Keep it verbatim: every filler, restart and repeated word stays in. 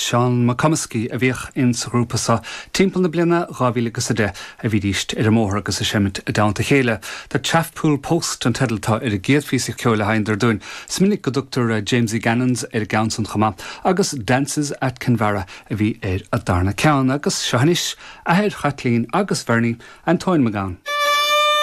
Seán McComiskey a bhíodh in sa ghrúpa seo timpeall na bliana dhá mhíle agus a deich a bhídís ar an mbóthar agus ag seimint i dteannta a chéile. The Chaffpool Post an teideal atá ar an gcéad phíosa ceoil a sheinneadar dúinn. Is minic go dtugtar Jamesie Gannon's ar an gceann san chomh maith agus Dances at Kinvara a bhí ar an darna ceann agus seo anois athair Chaitlín agus Bernie Antóin Mac Gabhann.